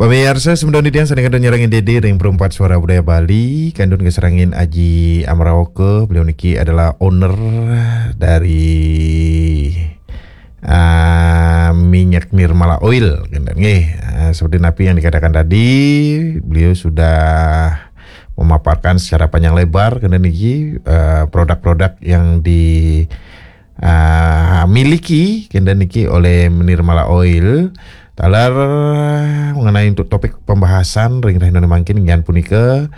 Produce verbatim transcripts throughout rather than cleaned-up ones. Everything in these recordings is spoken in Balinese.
Pamiarsa, semeton titiang sané kantun nyarengin Dédé ring Perempat Suara Budaya Bali, kantun kasarengin Aji Amraoka, beliau niki adalah owner dari, ah, minyak Nirmala Oil, kénten nggih. Ah, seperti napi yang dikatakan tadi, beliau sudah memaparkan secara panjang lebar, kénten niki, eh, produk-produk yang di, ah, miliki, kénten niki oleh Nirmala Oil. Taler mengenai untuk topik pembahasan ring rahina mangkin, inggih punika,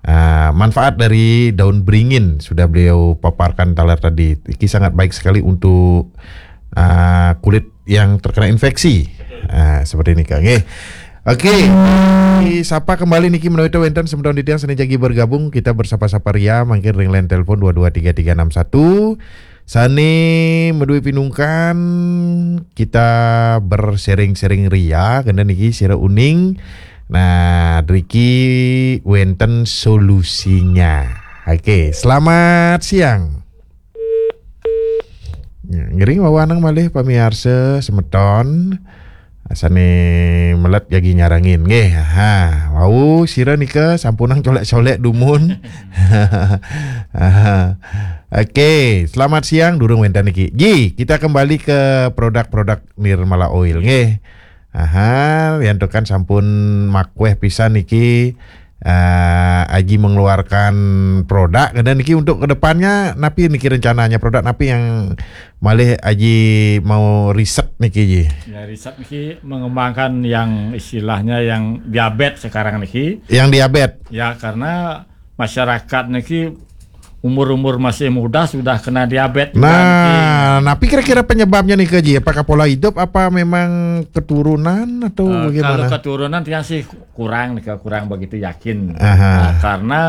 ah, manfaat dari daun beringin sudah beliau paparkan taler tadi. Iki sangat baik sekali untuk, ah, kulit yang terkena infeksi. Ah, seperti ini, Kang. Nggih. Oke, sapa kembali niki menawi wénten semeton titiang sané jagi bergabung, kita bersapa-sapa ria mangkin ring line telepon dua dua tiga tiga enam satu. Sané madué pinungkan, kita bersharing-sharing ria, kénten niki sira uning. Nah, driki wénten solusinya. Oke, selamat siang. Ya, ngiring wawanang malih pamiarsa semeton. Sané melet jagi nyarengin nggih. Ha, wau sira nika sampunang colék-colék dumun. Aha. Oke, selamat siang, durung wénten niki. Ji, kita kembali ke produk-produk Nirmala Oil nggih. Aha, yantukan sampun makwéh pisan niki, eh, Aji mengeluarkan produk, dan niki untuk kedepannya napi niki rencananya, produk napi yang malih Aji mau riset niki, Ji? Ya, riset niki mengembangkan yang istilahnya yang diabetes sekarang niki. Yang diabetes? Ya, karena masyarakat niki umur-umur masih muda sudah kena diabetes juga niki. Nah, napi kira-kira penyebabnya nika, Ji? Apakah pola hidup, apa memang keturunan atau Eh, bagaimana? Kalau keturunan tiang sih kurang nika, kurang begitu yakin. Aha. Nah, karena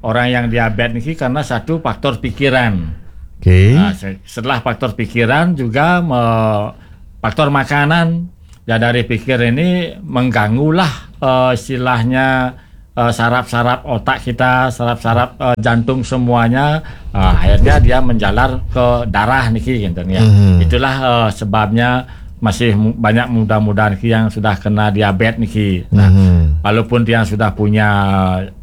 orang yang diabetes niki karena satu faktor pikiran. Oke. Nah, se-, setelah faktor pikiran juga me-, faktor makanan. Ya, dari pikir ini mengganggulah, eh, istilahnya, eh, saraf-saraf otak kita, saraf-saraf, eh, jantung semuanya, eh, akhirnya dia menjalar ke darah niki, gitu ya. Mhm. Itulah, eh, sebabnya masih mu-, banyak muda-muda niki yang sudah kena diabetes niki. Nah, mhm, walaupun tiang sudah punya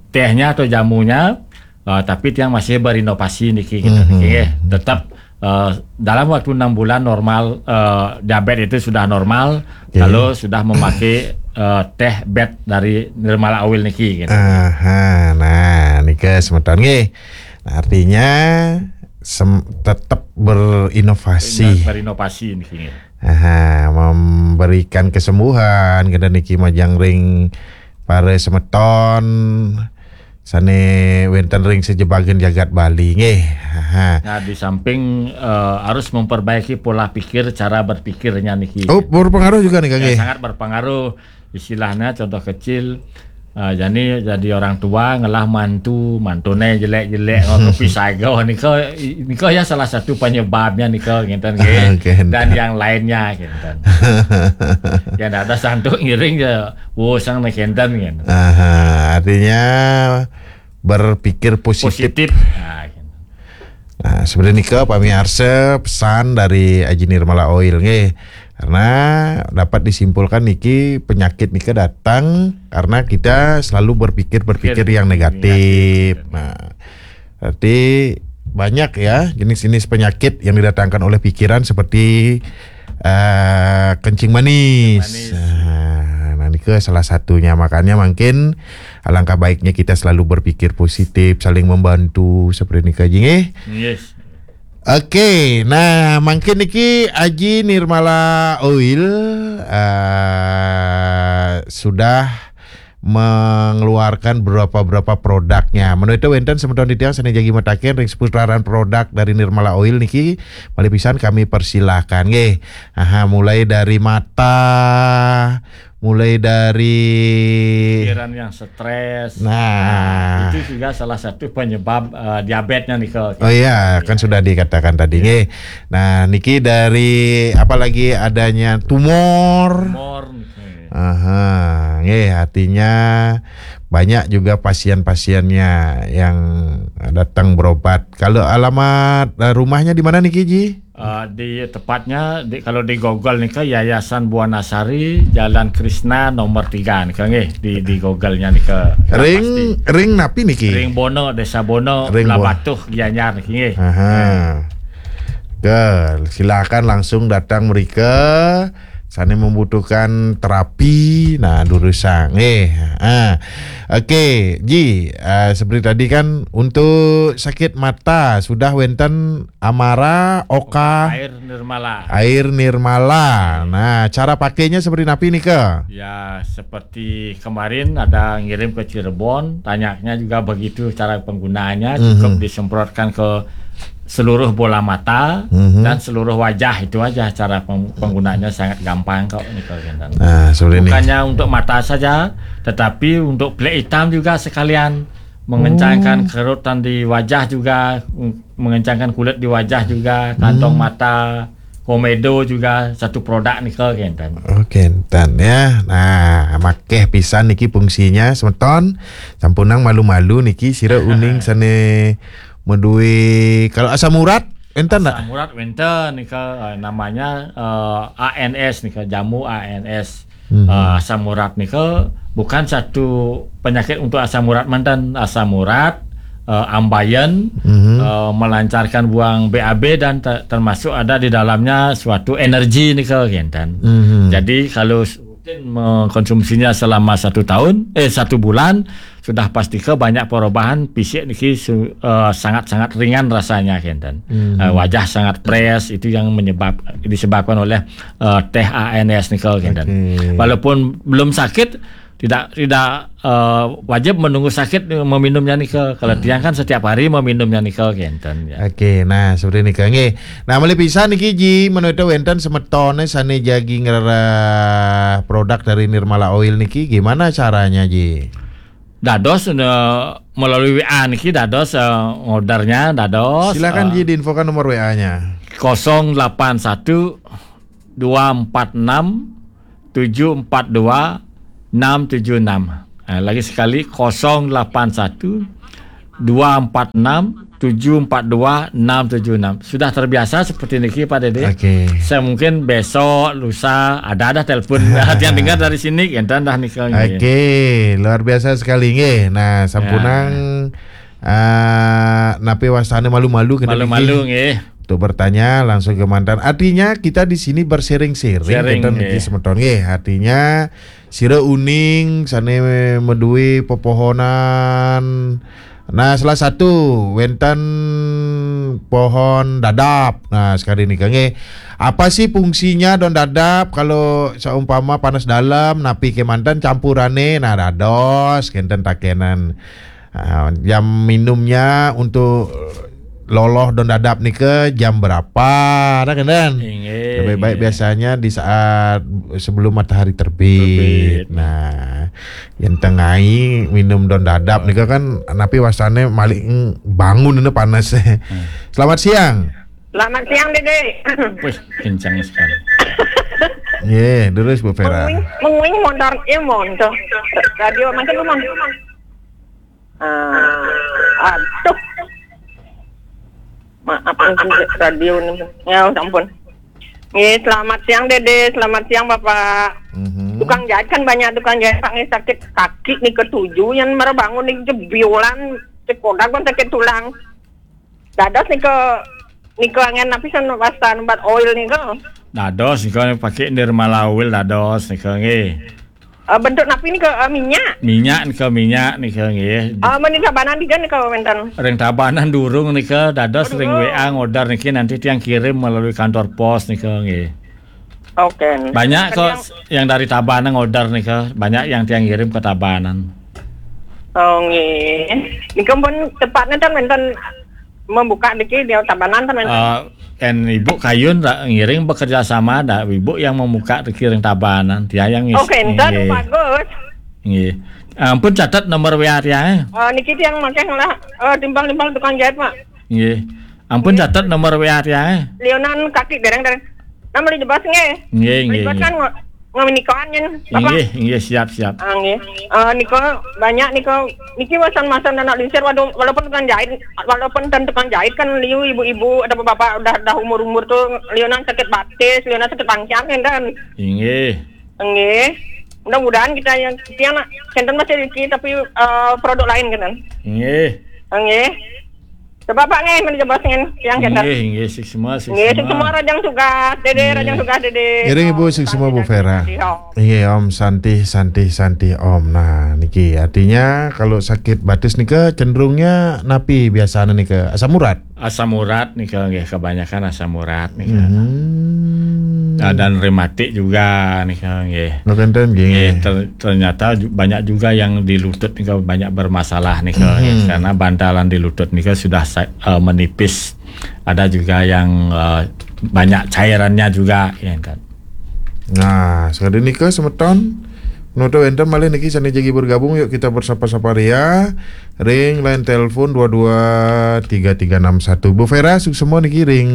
tehnya atau jamunya, eh, tapi tiang masih berinovasi niki, gitu, mhm, niki, nggih. Tetap, eh, dalam waktu enam bulan normal, eh, diabetes itu sudah normal, oke, kalau sudah memakai, eh, teh bet dari Nirmala Oil niki, gitu. Aha, nah, nika semeton nggih. Nah, artinya sem-, tetap berinovasi. Ber-, berinovasi niki, nggih. Aha, memberikan kesembuhan, kénten niki majeng ring para semeton sané wénten ring sajebagan jagat Bali nggih. Aha. Nah, di samping, eh, harus memperbaiki pola pikir, cara berpikirnya niki. Oh, berpengaruh juga nih, Kang, ya, nggih? Sangat berpengaruh. Istilahnya contoh kecil, eh, jadi, jadi orang tua ngelah mantu, mantuné jelek-jelek, ngono kepisaga, nika, nika ya salah satu penyebabnya nika, ngénten nggih. Oke. Dan yang lainnya, ngénten. Ya, ndak ada santuk ngiring ya, wo, sang nih ngénten, ngénten. Aha, artinya berpikir positif. Positif. Nah, gitu. Nah, sebenarnya nika pamiarsa pesan dari Aji Nirmala Oil nggih. Karena dapat disimpulkan niki penyakit nika datang karena kita selalu berpikir-berpikir yang negatif. Negatif. Nah, berarti banyak ya jenis-jenis penyakit yang didatangkan oleh pikiran seperti, eh, kencing manis. Kencing manis. Nah, nah, nika salah satunya. Makanya mungkin alangkah baiknya kita selalu berpikir positif, saling membantu seperti nika, Ji, nggih. Yes. Oke, nah, mungkin niki Aji Nirmala Oil, eh, sudah mengeluarkan berapa-berapa produknya. Menawi wénten semeton titiang sané jagi mataken ring seputaran produk dari Nirmala Oil niki, malih pisan kami persilahkan nggih. Aha, mulai dari mata, mulai dari pikiran yang stres. Nah. Nah, itu juga salah satu penyebab, eh, diabetesnya nika. Oh iya, kan sudah dikatakan tadi nggih. Nah, niki dari apalagi adanya tumor. Tumor. Aha, nggih, artinya banyak juga pasien-pasiennya yang datang berobat. Kalau alamat, eh, rumahnya di mana niki, Ji? Eh, di tepatnya di, kalau di Google nika Yayasan Buana Sari, Jalan Krishna nomor tiga nika nggih, di di Google-nya nika. Ring ring napi niki? Ring Bono, Desa Bono, Ring Bono. Labatuh, Gianyar niki nggih. Aha. Ke, silakan langsung datang mereka. Sana membutuhkan terapi, nah, durusang. Eh, ah. Okey, Ji, ah, seperti tadi kan, untuk sakit mata sudah wenten Amara, Oka, Air Nirmala. Air Nirmala. Nah, cara pakainya seperti napi nika? Ya, seperti kemarin ada ngirim ke Cirebon, tanyanya juga begitu cara penggunaannya, cukup Mhm. disemprotkan ke seluruh bola mata Mhm. dan seluruh wajah, itu aja cara peng- penggunaannya, sangat gampang kok nika, kinten. Nah, seperti ini. Bukannya untuk mata saja, tetapi untuk pelik hitam juga sekalian, mengencangkan Oh. kerutan di wajah juga, mengencangkan kulit di wajah juga, kantong Hmm. mata, komedo juga satu produk nika, kinten. Oh, kinten ya. Nah, makeh pisan niki fungsinya, semeton. Sampunang malu-malu niki, sira uning sana madue, kalau asam urat enten tak? Asam urat wenten nika, eh, namanya, eh, A N S nika, jamu A N S. Mhm. Eh, asam urat nika bukan satu penyakit untuk asam urat manten. Asam urat, eh, ambayan, Mhm. eh, melancarkan buang B A B dan ter- termasuk ada di dalamnya suatu energi nika, kinten. Mhm. Jadi kalau rutin mengkonsumsinya selama satu tahun, eh, satu bulan, sudah pasti ke banyak perubahan fisik niki su- eh, sangat-sangat ringan rasanya, kinten. Mhm. Eh, wajah sangat fresh, itu yang menyebab disebabkan oleh, eh, teh A N S nika, kinten. Okey. Walaupun belum sakit, tidak tidak, eh, wajib menunggu sakit meminumnya nika. Kalau Hmm. tiang kan setiap hari meminumnya nika, kinten, ya. Okey, nah, seperti nika nggih. Nah, malih pisan niki, Ji, menawi wenten semetone sane jagi ngrereh produk dari Nirmala Oil niki, gimana caranya, Ji? Dados, eh, melalui W A niki dados, eh, ngordernya dados, Silakan, eh, Ji, diinfokan nomor W A-nya. kosong delapan satu dua empat enam tujuh empat dua enam tujuh enam. Eh, lagi sekali, kosong delapan satu dua empat enam tujuh empat dua enam tujuh enam. Sudah terbiasa seperti niki, Pak Dede. Okey. Saya mungkin besok, lusa, ada dah telepon. Yang dengar dari sini, kinten dah nika nggih. Okey, luar biasa sekali nggih. Nah, sampunang, Ya. ah, napi wastane malu-malu kena Malu-malu niki. Nggih. Untuk bertanya langsung ke mantan. Artinya kita di sini bersering-sering, Sharing, kinten nggih. Niki semeton nggih. Artinya sira uning sane madue pepohonan. Nah, salah satu wenten pohon dadap. Nah, sekali nika nggih. Apa sih fungsinya don dadap kalau seumpama panas dalam, napi kemanten campurane? Nah, dados kinten takenan. Ah, jam minumnya untuk loloh don dadap nika jam berapa? Ada kan, Dan? Inggih, Lebih baik inggih. Biasanya di saat sebelum matahari terbit. Terbit. Nah, yang tengai minum don dadap nika kan napi wastane malik, mm, bangun ini panas. Hmm. Selamat siang. Selamat siang, Dede. Wih, kencang sekali. Ye, terus Bu Vera. Menguing, menguing motor, ya motor. Radio macam mana? Ah, aduh. Maaf, radio ni. Ya, ampun. Nggih, selamat siang, Dede. Selamat siang, Bapak. Mhm. Tukang jahit kan banyak tukang jahit, Pak, nggih, sakit kaki nika tujuh, yang mara bangun nika jebiolan, sekolah pun sakit tulang. Dados nika, nika angen napi san wastan obat oil nika? Dados nika pakai Nirmala Oil dados nika nggih. Eh, bentuk napi nika, eh, minyak? Minyak nika, minyak nika nggih. Ah, meni Tabanan tiga nika wenten? Ring Tabanan durung nika, dados ring W A ngorder niki, nanti tiang kirim melalui kantor pos nika nggih. Oke. Banyak kok yang dari Tabanan ngorder nika, banyak yang tiang kirim ke Tabanan. Oh, nggih. Nika pun tepatnya kan wenten membuka niki di Tabanan kan wenten? Eh, kan Ibu kayun ra- ngiring bekerja sama, dah Ibu yang membuka niki ring Tabanan, tiang yang ngis- Oke, entar nggih. Bagus. Nggih. Ampun catat nomor W A tiang, eh. Eh, niki tiang makai lah, eh, timbang-timbang tukang jahit, Pak. Nggih. Ampun catat nomor W A tiang, eh. Lionan kaki dereng-dereng. Nama dijebas nggih? Nggih, nggih, dijebas nggih. Kan ngo- Ngaminikan nyen, Bapak. Inggih, inggih, siap, siap. Ah, nggih. Eh, nika banyak nika, niki masan-masan anak lingsir, waduh, walaupun tukang jahit, walaupun ten tukang jahit kan liu ibu-ibu atau bapak udah, udah umur-umur tuh, liunan sakit batis, liunan sakit pangkian kan, dan. Inggih. Nggih. Mudah-mudahan kita yang, kita nak, senten masih rezeki, tapi, eh, produk lain kan. Nggih. Nggih. Coba Pak nggih, manajer bos nggih, yang kita. Nggih, nggih, suksma, suksma. Nggih, suksma rajang tugas, Dede, rajang tugas, Dede. Ngiring Ibu, suksma Bu Vera. Nggih, Om. Nggih, Om, santih, santih, santih, Om. Nah, niki artinya kalau sakit batis nika cenderungnya napi biasanya nika? Asam urat? Asam urat nika, nggih, kebanyakan asam urat nika. Hmm. Ah, dan rematik juga nika, nggih. Nggih, ter-, ternyata ju-, banyak juga yang di lutut nika banyak bermasalah nika, nggih. Karena bantalan di lutut nika sudah sa-, eh, menipis. Ada juga yang, eh, banyak cairannya juga, ya kan. Nah, sekali nika semeton. Menutup enten malih niki sane jagi bergabung, yuk kita bersapa-sapa ria. Ring line telepon dua dua tiga tiga enam satu. Bu Vera, suksma niki ring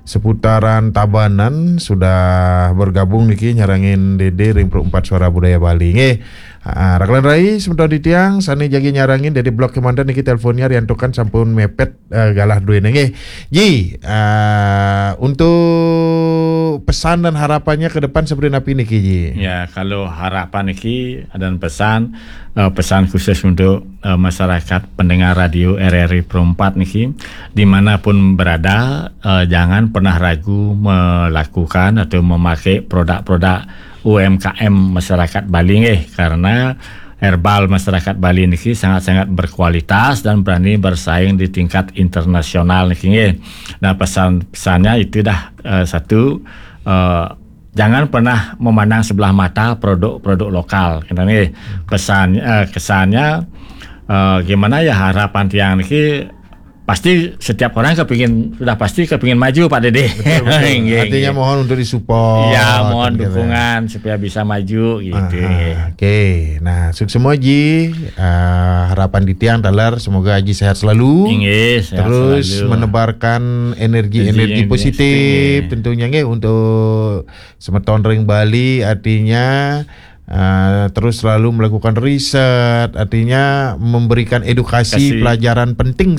seputaran Tabanan sudah bergabung niki nyarengin Dede ring Pro empat Suara Budaya Bali. Nggih. Ah, raka lan rai semeton titiang sane jagi nyarengin Dede Blok Komandan niki teleponnya riantukan sampun mepet, eh, galah duene nggih. Ji, eh, untuk pesan dan harapannya ke depan seperti napi niki, Ji? Ya, kalau harapan niki dan pesan, eh, pesan khusus untuk, eh, masyarakat pendengar radio R R I Pro empat niki, dimanapun berada, eh, jangan pernah ragu melakukan atau memakai produk-produk U M K M masyarakat Bali nggih, karena herbal masyarakat Bali niki sangat-sangat berkualitas dan berani bersaing di tingkat internasional niki nggih. Nah, pesan-pesannya itu dah, eh, satu, eh, jangan pernah memandang sebelah mata produk-produk lokal, gitu nggih. Pesan, eh, kesannya, eh, gimana ya, harapan tiang niki pasti setiap orang kepingin, sudah pasti kepingin maju, Pak Dede. Betul, betul. Nggih, artinya nggih. Mohon untuk disupport, ya, mohon gitu ya. Dukungan supaya bisa maju, gitu, ah, nggih. Oke, nah, suksma Ji, ah, harapan titiang taler semoga Ji sehat selalu. Inggih, sehat selalu. Terus menebarkan energi-energi positif, nggih. Tentunya nggih untuk semeton ring Bali, artinya, ah, terus selalu melakukan riset, artinya memberikan edukasi, pelajaran penting